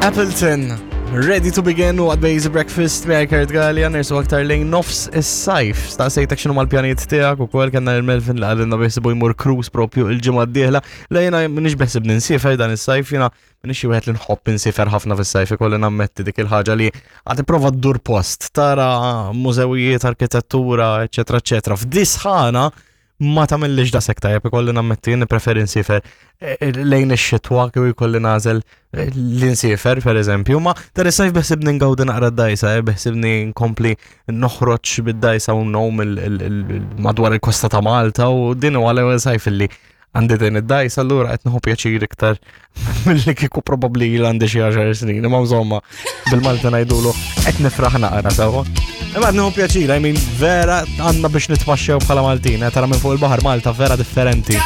Appleton, ready to begin u għad Easy Breakfast miegħi Kurt Gallia nersu aktar lejn nofs is-sajf. Staqsejtek x'inhu mal-pjanijiet tiegħek ukoll kellna l-Melvin li qalilna beħsibu jmur cruise propju il-ġimgħa d-dieħla. Le jiena m'iniex beħsibni nsiefer dan is-sajf, jiena m'iniex xi wieħed li nħobb insiefer ħafna fis-sajf ikolli nammetti dik il-ħaġa li għad tipprova ddur post, tara mużewijiet, arkitettura, eċetera, eċetera. F'disħana ma tagħmillix daqshekk tajjeb ikolli nammetti nippreferi nsiefer eh, eh, lejn ix-xitwa kieku jkolli nagħżel eh, li nsiefer pereżempju, ma dan is-sajf beħsibni ngawdi naqra d-dajsa, beħsibni nkompli noħroġ bid-dajsa u nom madwar il-kosta ta' Malta u din huwa l-ewwel sajf illi għandi din id-dajsa allura qed nieħu pjaċir iktar milli kieku probabbli il għandi xi għaxar snin, imma insomma bil-Malta ngħidulu qed nifraħ naqra sewwa. Imma qed nieħu pjaċir, I mean vera għandna biex nitpaxxew bħala Maltin, eh, tara minn fuq il-baħar Malta vera differenti.